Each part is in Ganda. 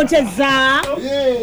Oteza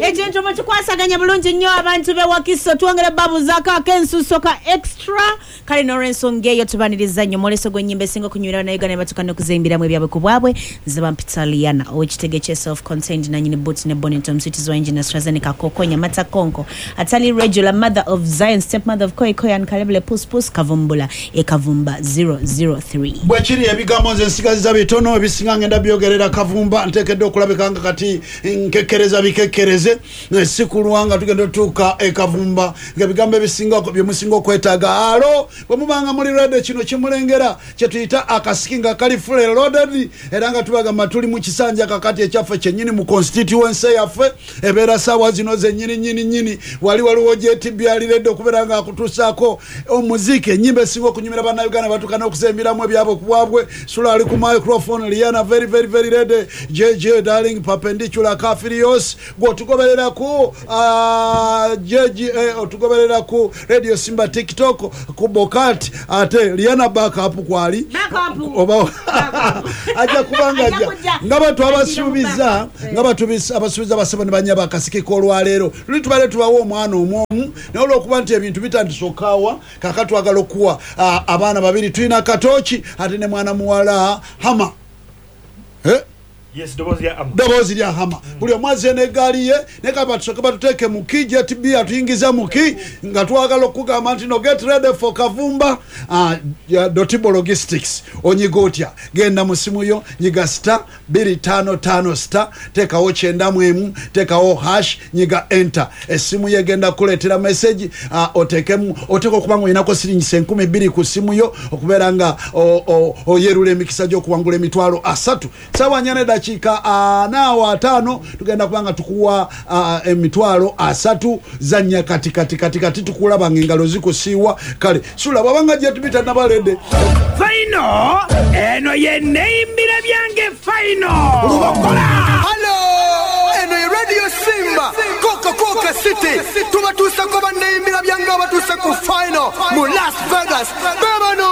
ekintu mukikwasaganya bulungi nnyo. Abantu be Wakiso twongera babuzaako ak'ensuso ka extra. Kale n'olwensonga eyo tubaniriza nnyo mwoleso gw'ennyimba esinga okunywera Bannayuganda ne batuuka n'okuzimbiramu ebyabwe ku bwabwe. Nze bampita Liana ow'ekitege kye self contained, nanyini boot ne bonnet, omuswitizi wa engine AstraZeneca, kokonya mata konko atali regular, mother of Zion, step mother of Koi Koi and Kalebule Pus Pus Kavumbula e Kavumba 003. Bwekiri, ebigambo nze nsigaziza bitono, ebisinga ngenda byogerera Kavumba. Nteekeddwa okulabika nga kati nkekkereza bikekkereze si kulwa nga tugenda otuuka e Kavumba nga ebigambo ebisinga byemusinga okwetaaga. Alo, bwe mubanga muli ready, kino kimulengera kyetuyita akasiki nga kali fully loaded, era nga tubagamba tuli mu kisanja kakati ekyaffe kyennyini mu constituency yaffe. Ebeera saawa zino zennyini nyini nyini. Wali waliwo JTB ali ready okubeera nga akutuusaako omuziki, ennyimba esinga okunyumira Bannayuganda batuuka n'okusembiramu ebyabwe ku bwabwe. Sula ali ku microphone, Liana very very very ready, JJ darling perpendicular kafirios. Gwe otugoberera ku JJ, otugoberera ku Radio Simba TikTok ku Bokat, ate Liana backup kwali. Backup. Oba ajja kubanga Ajja ajja kujja. nga batu abasuubiza, nga batu abasuubiza basebo ne banyaba akasiki k'olwaleero luli tubadde tubawa omwana omwomu, naye olwokuba nti ebintu bitandise okaawa, kaka twagala okuwa abaana babiri. Tulina Katooki ate ne mwana muwala Hama. Eh? Yes, ddoboozi lya Ama. Ddoboozi lya Hama. Buli omu azze n'eggaali ye, naye kaba tusooke batuteeke muki JTB atuyingiza muki nga twagala okugamba nti no, get ready for Kavumba. Dotibo Logistics, onyiga otya? Genda mu simu yo, nyiga *255*, teekawo 91, teekawo hash, nyiga enter. Essimu yo egenda kukuleetera message, oteekemu oteeka okuba nga olinako siringisa 2000 ku simu yo okubeera nga oyerula emikisa gy'okuwangula 300,000. Sawa 4:45 tugenda kuba nga tukuwa 300,000. Zanya kati kati kati kati, tukulaba nga engalo zikusiiwa. Kale sula bwabanga jetubita nabaledde. Final eno ye neimbira byange final Lubokola. Halo, eno ye Radio Simba Coca Coca City. Tubatuusako banneimbira byange abatuuse ku final mu Las Vegas bebano.